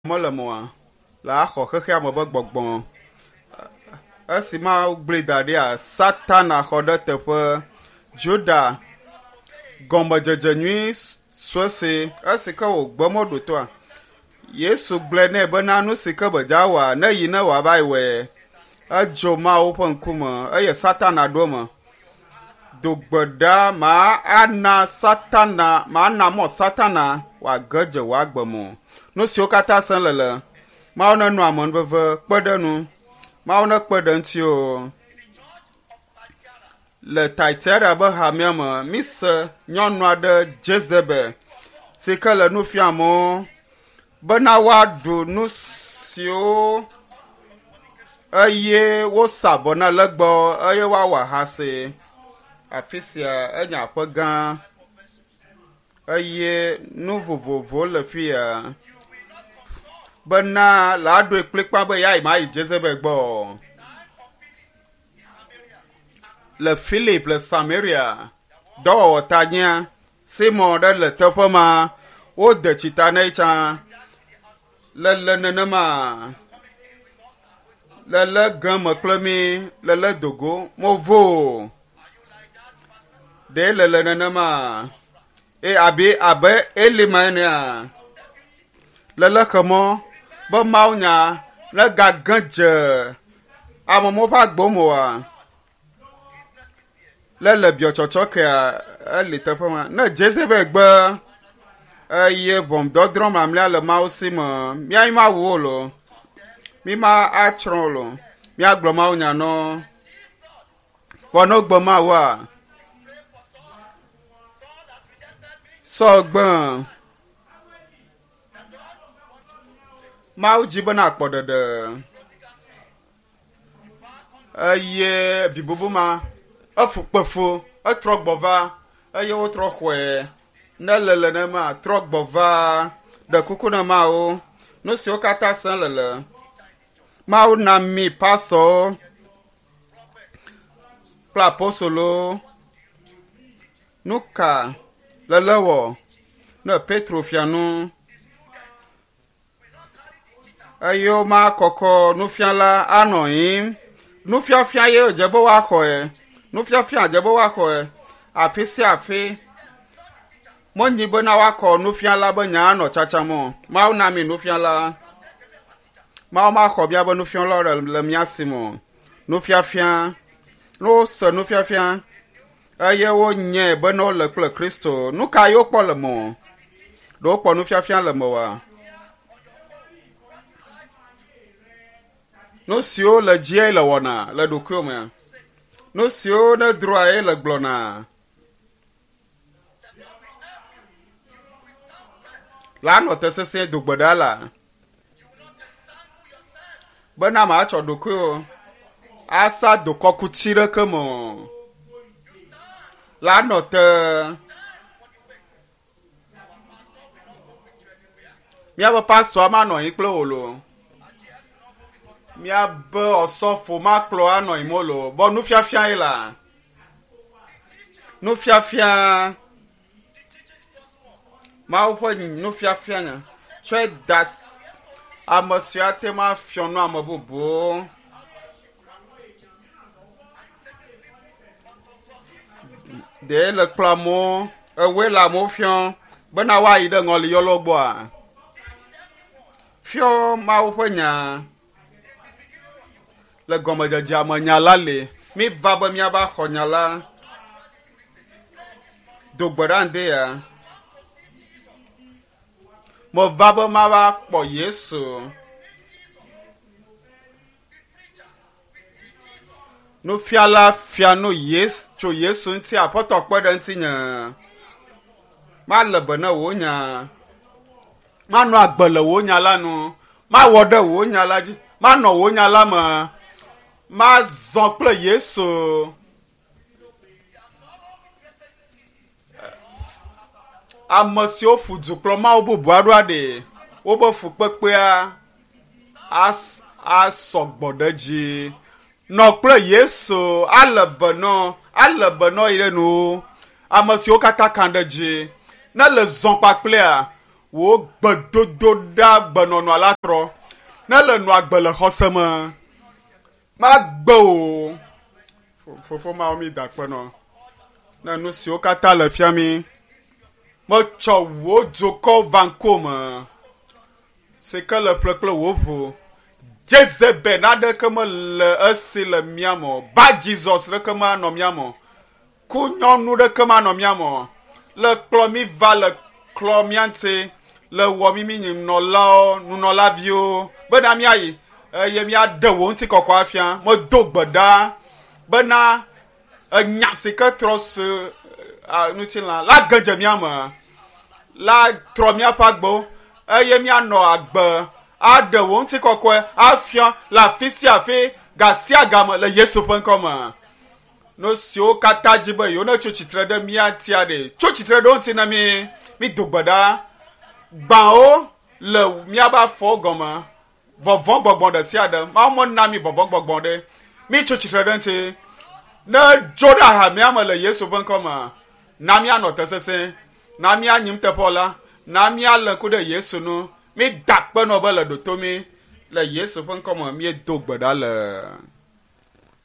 Mele mɔa la axɔ xexea me be gbɔgbɔ. Esi Mawu gblẽ da ɖia, Satana xɔ ɖe teƒe. Juda gɔmedzedze nyui sue si esi ke wògbe mɔɖo toa. Yesu gblɔe nɛ bena nu si ke bedza wɔa, ne yi ne wòava yi wɔe. Edzo Mawu ƒe ŋkume eye Satana ɖo eme. Do gbe ɖa ma ana Satana ma na mɔ Satana wòage dze wò agbe me o. Nu siwo katã sem le le Mawu nenɔ amenuveve kpe ɖe nu. Mawu nekpe ɖe ŋuti o. Le Thyatira be hamea me, mise nyɔnu aɖe Jezebel si ke le nu fiam amewo bena woaɖu nu siwo eye wosa vɔ na legbawo eye woawɔ ahasi. Afi sia enye aƒe gã eye nu vovovowo le fi ya bena la ɖoe kplikpa be yeayi ma yi Jezebel gbɔ o. Le Philip le Samaria dɔwɔwɔ ta nyia Simon ɖe le teƒe ma wode tsita nɛ tsã lele nenema lele geme kple mi lele dogo movo ɖe lele nenema e abi abe Elima enea lele xemɔ be Mawu nya negage dze amewo ƒe agbo me oa lele biɔtsɔtsɔ kea eli teƒe ma ne Jezebel gbe eye ʋɔnudɔdrɔ̃ mamlɛa le Mawu si me míayi ma wu wo lo mi ma atsrɔ̃ wo lo míagblɔ Mawu nya nɔ vɔ ne wogbe Mawua Saul gbe Mawu dzi bena akpɔ ɖeɖe eye vi bubu ma efu kpe fu etrɔ gbɔ va eye wotrɔ xɔe ne le le nema trɔ gbɔ va ɖe kuku na Mawu nu siwo katã sẽ le le Mawu na mi pastɔwo kple apostolowo nu ka lele wɔ ne Petro fia nu eye womakɔkɔ nufiala anɔ anyi. Nufiafia ye wòdze be woaxɔe. Nufiafia dze be woaxɔe afi sia afi. Menyi bena woakɔ nufiala be nya anɔ tsatsam o. Mawu na mi nufiala. Mawu maxɔ míaƒe nufialawo le le mía si me o. Nufiafia, ne wose nufiafia eye wonyae bena wole kple Kristo, nu ka ye wokpɔ le me o? Ɖe wokpɔ nufiafia le mewòa? Nu siwo le dzie le wɔna le ɖokuiwò mea? Nu siwo nedroa ye le gblɔna? La nɔ te sesĩe do gbe ɖa la bena màtsɔ ɖokuiwò asa dokɔkutsi ɖeke me o. La nɔ te Míaƒe pastɔa manɔ anyi kple wò loo. Míabe ɔsɔfo makplɔ anɔ anyi mo loo. Bɔ nufiafia ye la. Nufiafia. Mawu ƒe nufiafia nya. Tsɔe da ame siwo ate ŋu afiɔ nu ame bubuwo. Ɖe le kplɔ amewo, ewoe le amewo fiɔ bena woayi ɖe ŋɔliyɔlawo gbɔa? Fiɔ Mawu ƒe nya. Le gɔmedzedzea me nya la li. Míva be míava xɔ nya la. Do gbe ɖa ŋdi ya. Meva be mava kpɔ Yesu. Nufiala fia nu Yesu tso Yesu ŋuti Aƒetɔ kpe ɖe ŋutinye. Male be ne wò nya. Manɔ agbe le wò nya la nu. Mawɔ ɖe wò nya la dzi. Manɔ wò nya la me. Mazɔ kple Yesu. Ame siwo ƒu du kplɔ Mawu bubu aɖoa ɖe wobe fukpekpea as asɔ gbɔ ɖe edzi. Nɔ kple Yesu ale be nɔ ale be nɔ yi ɖe nu. Ame siwo katã ka ɖe edzi ne le zɔ kpakplea. Wò gbedodoɖa gbenɔnɔa la trɔ. Ne le nɔ agbe le xɔse me, magbe o. Fofo Mawu mi da akpe nɔ. Ne nu siwo katã le fia mi, metsɔ wò dzokɔ va ŋkuwò me si ke le ƒle kple wò ʋu. Jezebel naɖeke mele esi le mía me o. Ba Jesus ɖeke manɔ mía me o. Ku nyɔnu ɖeke manɔ mía me o. Le kplɔ mí va le klɔ mía ŋuti le wɔ mí mí nɔlawo nunɔlaviwo bena míayi eye míaɖe wò ŋutikɔkɔ afia. Medo gbe ɖa bena enya si ke trɔ su ŋutilã la ge dze mía me la trɔ míaƒe agbewo eye míanɔ agbe aɖe wò ŋutikɔkɔe afia le afi sia afi ga sia game le Yesu ƒe ŋkɔ me. Nu siwo katã dzi be yewo netso tsitre ɖe mía ŋutia ɖe, tso tsitre ɖe wo ŋuti na mí. Mído gbe ɖa. Gbãwo le míaƒe afɔwo gɔme. Vɔvɔ̃ gbɔgbɔ ɖe sia ɖe. Mawu mena mí vɔvɔ̃ gbɔgbɔ ɖe. Mítso tsitre ɖe eŋuti. Ne dzo ɖe hamea me le Yesu ƒe ŋkɔ me, na míanɔ te sesẽ. Na míanyi nuteƒewɔla. Na míalé ŋku ɖe Yesu ŋu. Mída akpe nɔ be le ɖo to mí. Le Yesu ƒe ŋkɔ me míedo gbe ɖa le.